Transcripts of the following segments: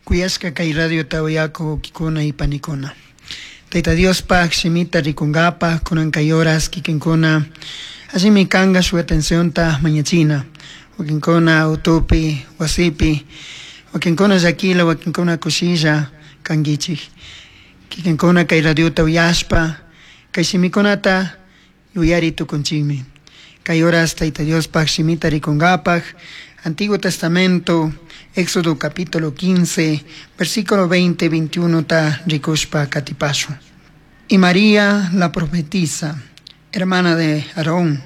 Kuyashka kay radiota uyaku wawkikuna y panikuna. Tayta Diospaj shimita rikunkapaj kunan kay horas kikinkuna allimi kanka shuk atencionta mañachina. Wakinkuna autopi, wasipi, wakinkuna llakila, wakinkuna kushilla kankichik. Kikinkuna kay radiota uyashpa kay shimikunata yuyari tukunchikmi. Kay horas Tayta Diospaj shimita rikunkapaj Antiguo Testamento, Éxodo capítulo 15, versículo 20, 21 ta rikushpa katipashun. Y María la profetisa, hermana de Aarón,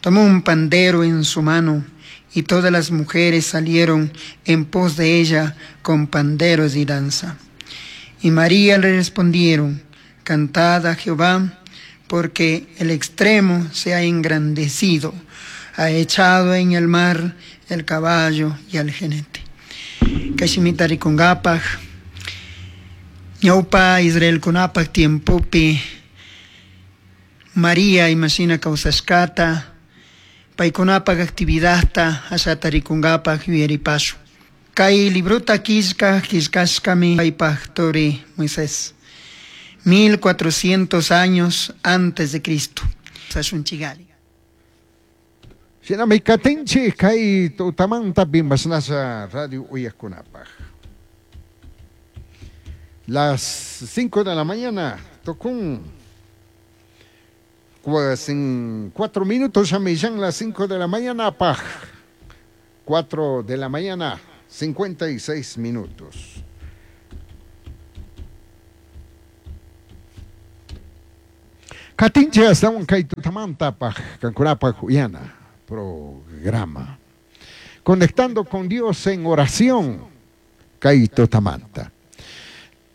tomó un pandero en su mano y todas las mujeres salieron en pos de ella con panderos y danza. Y María le respondieron, cantad a Jehová, porque el extremo se ha engrandecido, ha echado en el mar el caballo y al jinete. Kay shimita rikunkapaj, ñawpa Israelkunapaj tiempopi María imashina kawsashkata, paykunapaj actividadta ashata rikunkapaj yuyaripashun. Kay librota killka killkashkami paypaj turi Moisés. 1400 años antes de Cristo. Sashunchigali. Shinami katinchik kay tutamanta mashnasha radio uyajkunapaj. Las 5 de la mañana tukun 4 minutos ya las 5 de la mañana paj. 4 de la mañana 56 minutos. Katinchik astawan kay tutamanta paj kankunapaj uyana programa. Conectando con Dios en oración kay tutamanta.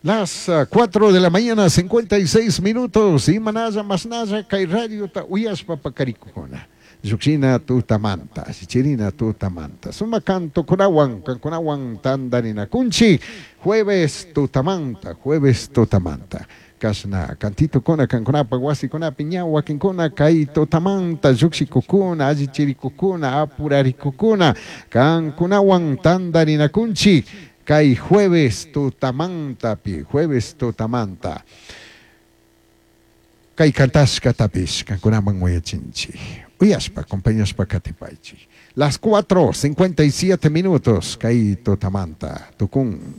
Las 4 de la mañana, 56 minutos. Imanalla, masnalla, kay radio ta uyashpa pakarikukuna. Llukshina tutamanta, sichirina tutamanta. Sumak cantokunawan, kankunawan tandarinakunchik. Jueves tutamanta, jueves tutamanta. Kashna cantitokuna kankunapaj wasikunapi ña wakinkuna kay tutamanta llukshikukuna, allichirikukuna, apurarikukuna, kankunawan tandarinakunchik. Kay jueves tutamantapi, jueves tutamanta. Kay kantashkatapish kankunaman uyachinchik. Uyashpa, acompañashpa katipaychik. Las 4:57 minutos, kay tutamanta, tukun.